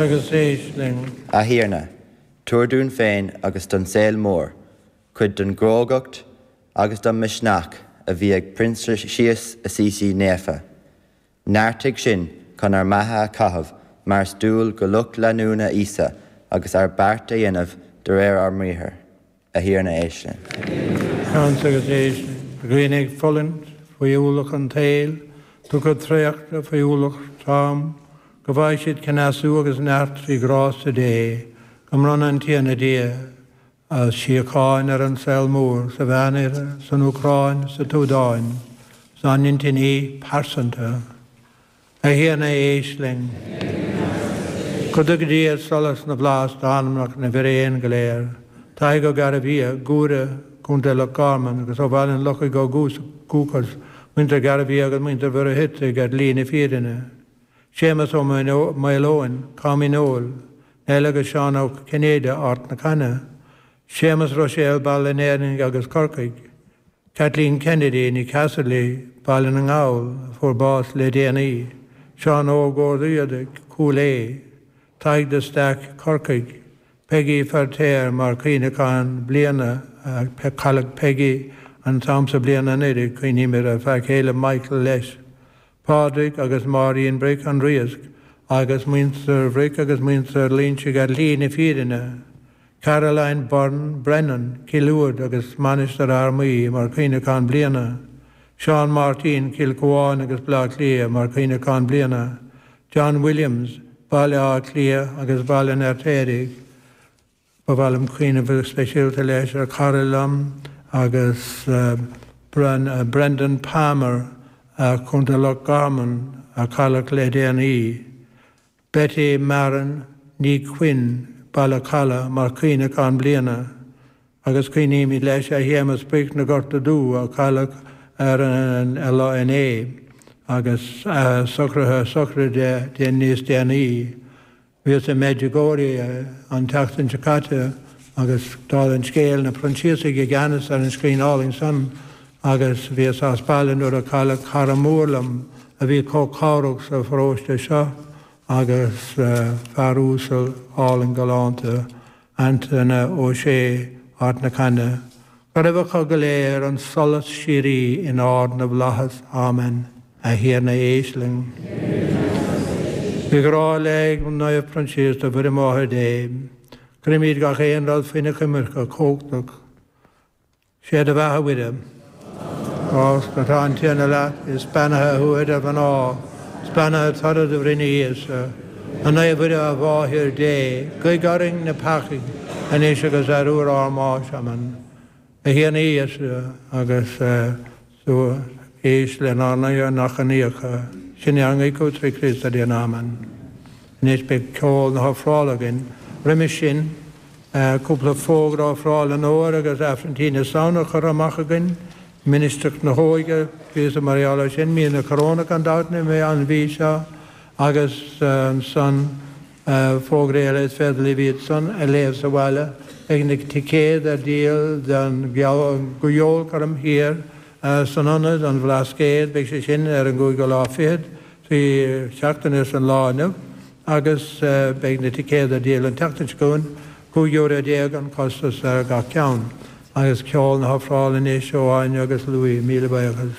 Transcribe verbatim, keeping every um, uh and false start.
Agus éist linn. A Thiarna, tabhair dúinn féin agus don saol mór cuid den gcrógacht agus den mhisneach a bhí ag Proinsias Assisi naofa. Neartaigh sinn chun ár mbeatha a chaitheamh mar is dual do lucht leanúna Íosa agus ár bpáirt a dhéanamh de réir ár mbriathar. A Thiarna éist linn. Seans agus éist linn. Dhaoine ag fulaingt faoi ualach an tsaoil, tugtha traochta faoi ualach trom, go bhfaighidh siad cneasú agus neart trí ghrásta Dé, go mbronna an Tiarna Dia a shíocháin ar an saol mór, sa Mheánoirthear, san Úcráin, sa tSúdáin, 's ár n-intinní pearsanta. A Thiarna éist linn. Go dtuga Dia solas na bhflaitheas d'anamnacha na bhfíréan go léir. Tadhg Ó Gairbhia, Guaire, Contae Loch Garman, agus ó Bhaile an Lochaigh ó dhúchas, muintir Ghairbhia agus muintir Mhuircheartaigh ar shlí na fírinne. Séamus Ó Maoileoin, Com Dhíneol, Neil agus Seán Ó Cinnéide, Ard na Caithne, Séamus Ruiséal, Baile an Éirinn agus Corcaigh, Kathleen Kennedy, née Casserly, Baile na nGall, a fuair bás le déanaí, Seán Óg Ó Riada, Cúil Aodha, Tadhg de Staic, Corcaigh, Peggy Feirtéar mar chuimhneachán bliana, cailleadh Peggy an t-am seo bliana anuraidh, cuimhnímid ar a fear céile Michael leis. Pádraig agus Máirín Bric, An Riasc, agus muintir Bhric agus muintir Loinsigh ar shlí na fírinne, Caroline Byrne Brennan, Cill Uaid agus Mainistir Fhear Maí mar chuimhneachán bliana, Seán Máirtín, Cill Chuáin agus Baile Átha Cliath mar chuimhneachán bliana, John Williams, Baile Átha Cliath agus Baile an Fheirtéaraigh. Ba mhaith liom cuimhneamh go speisialta leis ar chara liom agus Brendan Palmer, Contae Loch Garman, a cailleadh le déanaí, Betty Marin Ní Chuinn, Baile Challa, mar chuimhneachán bliana, agus cuimhnímid leis ar Shéamus Bric na Gorta Dubh a cailleadh ar an lá inné agus socruithe sochraide níos déanaí. Bhíos i Medjugorje an tseachtain seo caite agus dála an scéil, na Proinsiasaigh i gceannas ar an scrín álainn san agus bhíos as baile nuair a cailleadh cara mór liom a bhí chomh cabhrach sa pharóiste seo agus fear uasal álainn galánta, Antaine Ó Sé, Ard na Caithne. Go raibh acu go léir an solas síoraí in ard na bhflaitheas. Amen. A Thiarna éist linn. Faoi ghrá le Naomh Proinsias do Mhuire Máthair Dé, cuirimid gach aon rud faoina coimirce chumhachtach. Sé do bheatha a Mhuire. Grásta atá an Tiarna leat, is beannaithe thú idir mhná, is beannaithe toradh do bhroinne Íosa. A Naomh Mhuire, a Mháthair Dé, guigh orainn na peacaigh, anois agus ar uair ár mbáis. Amen. A Thiarna Íosa, agus tú éist lenár n-achainíocha. Sin ár nguí chugat trí Chríost ár dTiarna. Amen. Anois beidh ceol na hofrála againn. Roimis sin, cúpla fógra ofráil an Fhómhair agus Aifreann Tí na Samhna curtha amach againn. Ministreacht na hÓige, píosa mar gheall air sin, mí na Corónach gan dabht an mhí seo agus ansan fógraí eile is féidir libh iad san a léamh sa bhaile. Beidh na ticéid ar díol don gceolchoirm thiar san ionad, an Bhlascaod, beidh sé sin ar an gcúigiú lá fichead, trí seachtaine as an lá inniu, agus beidh na ticéid ar díol an tseachtain seo chugainn, cúig euro déag an costas ar gach ceann. Agus ceol na hofrála anois ó Áine agus Louis. Míle buíochas.